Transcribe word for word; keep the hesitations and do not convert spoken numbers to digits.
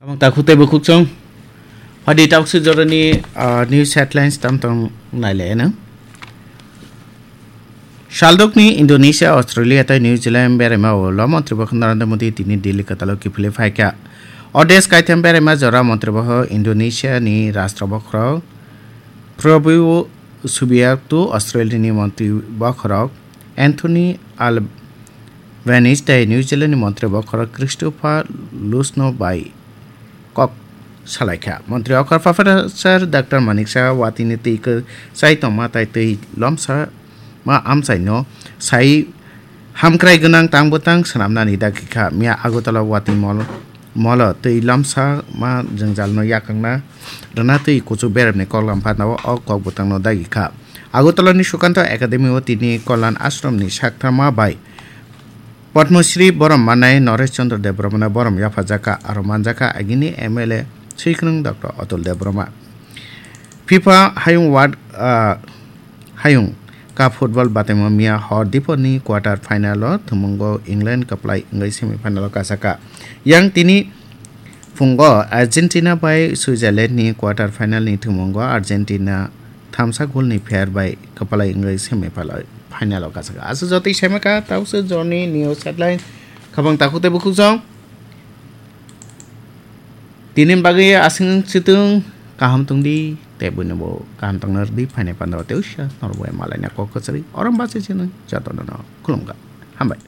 Abang takhuk tei bukhuk chwng. Phadi takswk jorani, ah, news headlines tam tong nailai ano. Saldokni Indonesia, Australia tei New Zealand beraima ulo Montri Bokho Narendra Modi tini Delhi kwtalo kiphilwi phaikha. Odes kaitham beraima jora Montri Bokho Indonesia ni Rashtra Bokhorok Prabowo Subianto, Australia ni Montri Bokhorok Anthony Al- Venice tei New Zealand ni Montri Bokhorok Christopher Lusno bai kok salaikha. Montri Okhor Professor Doctor Manik Saha watini twi kwchai tongma tai twi lomsa ma amchaino sai hamkrai gwnang tang bwtang swnamnani dagi kha. Miya Agartala watwi mol-, molo twi lomsa ma jwngjalno yakangna rwna twi kuchuk beremni koklam phatnao o kok bwtangno dagi kha. Agartala ni Sukanto Academy o tini Kalyan Ashram ni sakthama bai Padma Shri borom manai Naresh Chandra Debbarma no borom yaphajakha, aro manjakha agini M L A Swikwrwng Doctor Atul Debbarma. FIFA Hayung World, ah, Hayung Cup Football bataimo miya hor dipor ni quarter final o thumungo England kwplai wngwi semi final o kasakha. Yang tini phungo Argentina bai Switzerland ni quarter final ni thumungo Argentina thamsa goal ni pher bai kwplai wngwi semi final o kasakha. Aswk jotoi saimaka, tauswk jorni news headline. Khabang takhuk tei bukhuk jong. Tini bagwi aswk chwtwng kaham tongdi, tei buino bo kaham tongna rwdi, phainai pandao tei usia norbo malaina kok kwchari orom bachai chini jotono no khulumkha. Hambai.